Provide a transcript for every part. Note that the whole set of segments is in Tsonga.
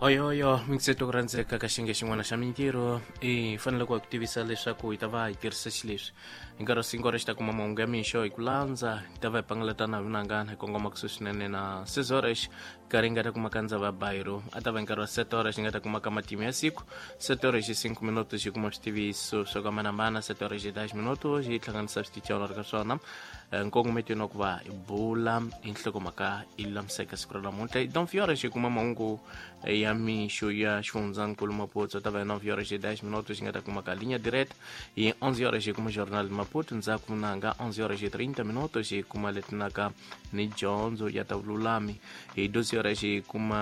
Oyoyo mingiseto ku rhandzeka ka xiyenge xin'wana xa mintirho i fanele ku tivisa leswaku hi ta va hi tirhisa xileswi hi nkarhi wa cinco horas xi ta kuma mahungu ya mixo hi ku landza hi ta va hi pangalatana hi vunangana hi kongoma kusuhi swinene na seis horas nkarhi hi nga ta kuma ka ndzava ya bayiro a ta va hi nkarhi wa sete horas hi nga ta kuma ka matimu ya siku sete horas hi cinco minutos hi kuma switiviso swo hambanahambana sete horas hi dez minutos hi hlanganisa switichelo ri ka swona nkongometweni wa ku va hi bula hi nhlokomhaka yi lulamiseka siku ra namuntlha hi 9 horas hi kuma mahungu ya mixo ya xifundzankulu Maputo ta va hi 9 horas e 10 minutos xi nga ta kuma ka linha direta hi 11 horas hi kuma jornal de Maputo ndzhaku nanga 11 horas e 30 minutos hi kuma letinaka ni dyondzo ya ta vululami hi 12 horas hi kuma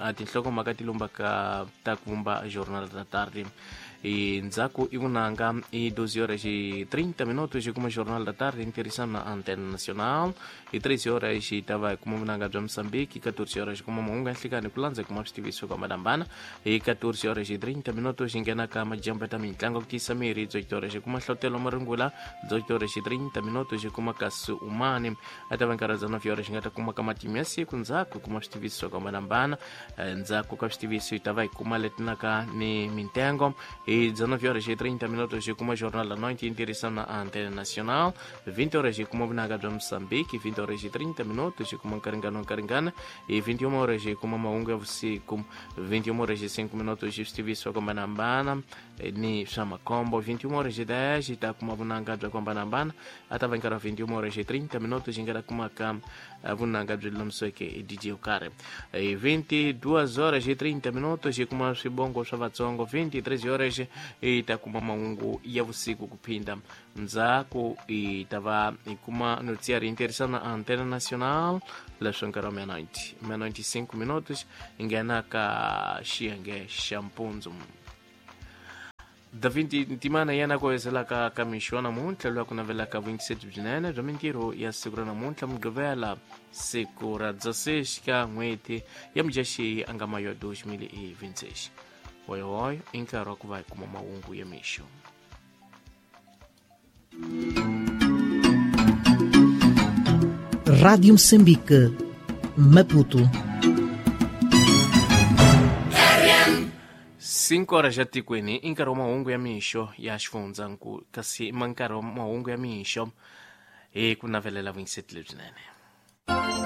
a tinhlokomhaka ti lumbaka ta ku vumba jornal da tarde hi ndzhaku i vunanga hi 12 horas e 30 minutos hi kuma jornal da tarde hi tirhisana na antena nacional hi 13 horas hi ta va hi kuma vunanga bya Mozambique 14 horas hi kuma mahungu ya nhlikani ku landza hi kuma switiviso ku hambanahambana hi 14 horas hi 30 minutos hi nghena ka majambu ta mitlangu ku tiyisa miri 18 horas hi kuma hlohlotelo marungula 18 horas hi 30 minutos hi kuma kasi umani a ta va nkarhi wa 19 horas hi nga ta kuma ka matimu ya siku ndzhaku hi kuma switiviso ku hambanahambana ndzhaku ka switiviso hi ta va hi kuma letinaka ni mintengo hi 19 horas hi 30 minutos hi kuma jornal la noite hi tirhisana na antena nacional 20 horas hi kuma vunanga bya Mozambique 20 horas hi 30 minutos hi kuma nkaringano nkaringana hi 21 horas hi kuma mahungu ya vusiku 21 horas hi 5 minutos hi switiviso ku hambanahambana ni swa makhombo 21 horas hi 10 hi ta kuma vunanga bya ku hambanahambana a ta va nkarhi wa 21 horas hi 30 minutos hi nga ta kumaka vunanga byi lulamiseke hi DJ yo karhi hi 22 horas hi 30 minutos hi kuma swibongo swa vatsongo 23 horas hi ta kuma mahungu ya vusiku ku phinda ndzhaku hi ta va hi kuma noticiário hi tirhisana antena nacional leswi nkarhi wa meia-noite meia-noite e 5 minutos hi nghena ka xiyenge xa mpundzu David Ntimana yena ku hezelaka ka mixo wa namuntlha loyi a ku navelaka vuyingiseti byinene bya mintirho ya siku ra namuntlha mugqivela siku ra 16 ka n'hweti ya mudyaxihi a nga mayo 2026 hoyohoyo i nkarhi wa ku va hi kuma mahungu ya mixo. Rádio Moçambique, Maputo. 5 horas ya tikweni i nkarhi wa mahungu ya mixo ya xifundzankulu kasi ma nkarhi wa mahungu ya mixo hi ku navelela vuyingiseti lebyinene.